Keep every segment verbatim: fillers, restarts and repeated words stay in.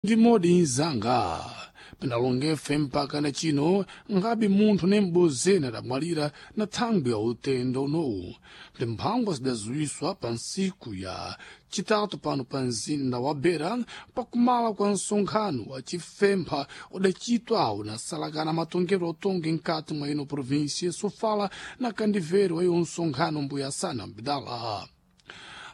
Ndi modi mzanga pinalongefe mpaka na chino ngabe munthu ne m'bozeni adamwalira na thangwi ya utenda unowu. Ndi mphangwa zidaziwiswa pa ntsiku ya chitatu pano pa mzinda wa Beira pakumala kwa msonkhano wa chifempha udacitwa unasalakana matongero otongi mkati mwa ino província Sofala na kandivero wa iwo msonkhano mbuya sana mbidala.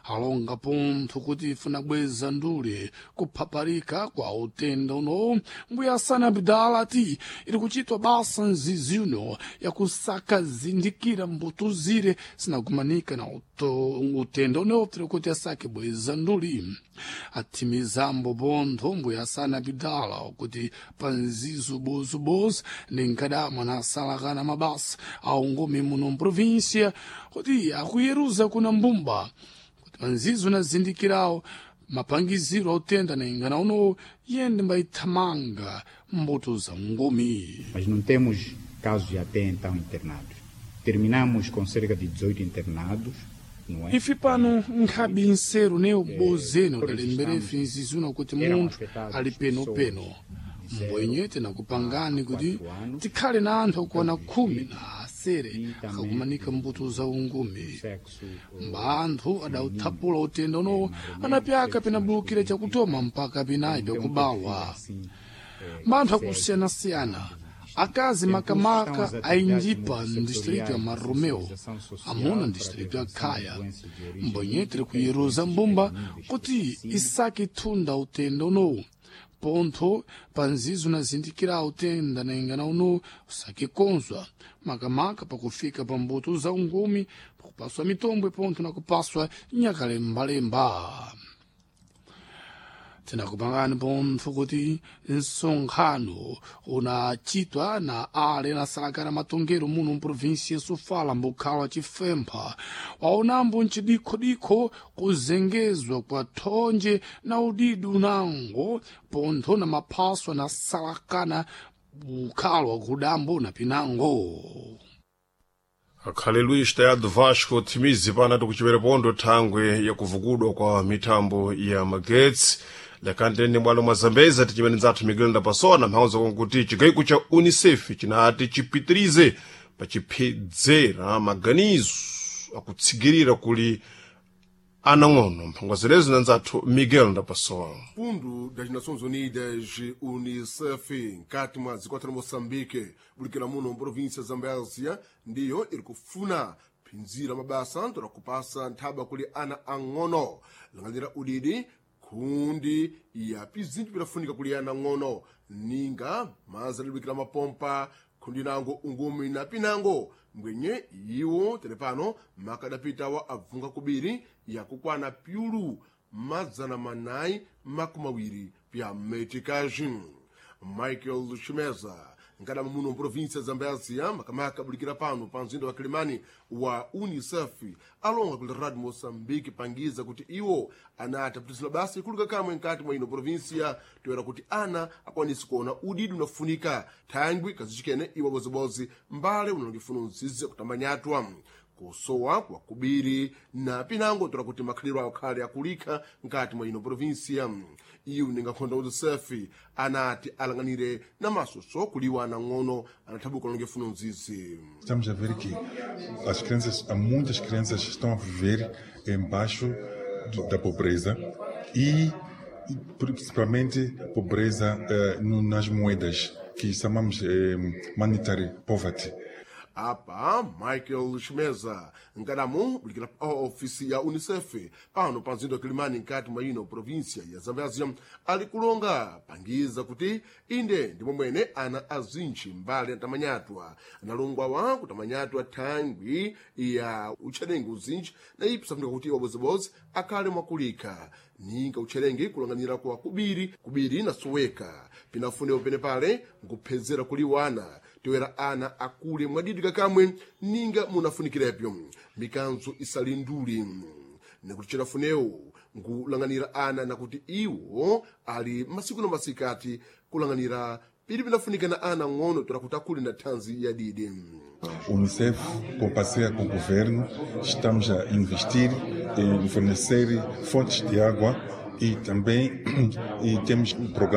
Alonga pontho kuti ifuna bweza ndule kuphaparika kwa utenda unowu, mbuya sana bidala ati iri kuchitwa basa nzizi uno yakusakazindikira mbuto zire zinagumanika na uto- utenda unowu tiri kuti asake bweza nduli. Athimizambo pontho mbuya sana bidala kuti pa nzizo bozobozo ndinkadamwa nasalakana mabasa aungome muno mprovíncia kuti akuyeruza kuna mbumba kuti panzizo nazindikirawo mapangiziro autenda na ingana unowo yende mbayithamanga mbuto za ngumi. Mas não temos casos até então internados. Terminamos com cerca de dezoito internados, não é? Ife pano nkhabe nseru ne ubozeni udalemberefe nzizuna kuti Eram munthu afetados ali penopeno. pessoas Mbwenye tinakupangani kuti tikhale na anthu okwana khumi na asere akakumanika mbuto za ungumi. Sexo Mba anthu adauthapula utenda unowo anapyaka pinabulukira chakutoma mpaka pinayi pyakubawa. assim, Manthu akusiyana-siyana, akazi makamaka ainjipa mdistrito ya Marromeu, amuna mdistrito ya Khaya. Mbwenye tiri kuyeruza mbumba kuti isake thunda utenda unowu pontho panzizo nazindikira utenda na ingana unowu usake konzwa makamaka pakufika pa mbuto za ungumi, pakupaswa mitombwe pontho na kupaswa nyakalembalemba. Tinakupangani pontho kuti msonkhano unachitwa na ale nasalakana matongero muno mprovinsia Sofala mbukhala wa chifempha waonambo mcidikhodikho kuzengezwa kwa thonje na udidi unango pontho na maphaso anasalakana bukhala wa kudambo na pinango. Akhale Luís Tayado Vasco timizi pana tikuchipera pondo thangwe yakuvukudwa kwa mithambo ya magetsi lakantene bwalo mwa Zambeza tichimene nzathu Miguel Ndapasona mphauza konkuti chigaiko cha UNICEF chinati chipitirize pachiphedzera maganizo akutsigirira kuli anang'ono mphangwazirezo na nzathu Miguel Ndapasona. Fundo das Nações Unidas, UNICEF, nkati mwa zikwata la Moçambique, bulikira muno mprovíncia ya Zambésia, ndiyo iri kufuna phinzira mabasa ntola kupasa nthaba kuli ana ang'ono langanira udidi khundi ya pizinthu pidafunika kuli ana ang'ono ninga maza libulikira mapompa khundi nango ungumi na pinango mbwenye iwo telepano makadapitawa abvunga kubiri yakukwana pyulu mazana manayi makumi awiri pya meticagem. Michael Chimeza nkadama muno mprovíncia ya Zambésia, makamaka abulikira pano pa mzinda wa Kilimani wa UNICEF alonga kuli Radio Moçambique pangiza kuti iwo anati apitizira basa ikuluka kamwe nkati mwa ino província toera kuti ana akwanise kuona udidi unafunika thangwi kazichikene iwo bozibozi mbale unalongefuna nzizi kutambanyatwa kusowa kwa kubiri na pinango tola kuti makhaliro awo khale akulikha nkati mwa ino província. Iwo ningakhonda UNICEF anati alanganire na masoso kuliwa anang'ono anathabuka longefuno nzizi. Estamos a ver que as crianças, há muitas crianças que estão a viver embaixo do- da pobreza e, e principalmente pobreza eh, no- nas moedas, que chamamos eh, monetary poverty. Apa Michael Chimeza nkadamu bulikira pa ofisi ya UNICEF pano pa mzinda wa Kilimani nkati mwa ino província ya Zambésia ali kulonga pangiza kuti inde ndimo mwene ana azintchi mbali antamanyatwa analongwawa kutamanyatwa thangwi ya utchelengi uzintchi na ipi safunika kuti wabozibozi akhale mwakulikha ninga utchelengi kulanganira kwa kubiri kubiri nasoweka pinafunewo penepale nkuphedzera kuliwana toera ana akule mwadidika kamwe ninga munafunikirepyo mikanzo isali nduli nikuti chinafunewo nkulanganira ana nakuti iwo ali masiku na masikati kulanganira pili pinafunika na ana ng'ono toera kuti akule na thanzi yadidi. UNICEF, com parceria com o governo, estamos a investir em fornecer fontes de água e também e temos um programa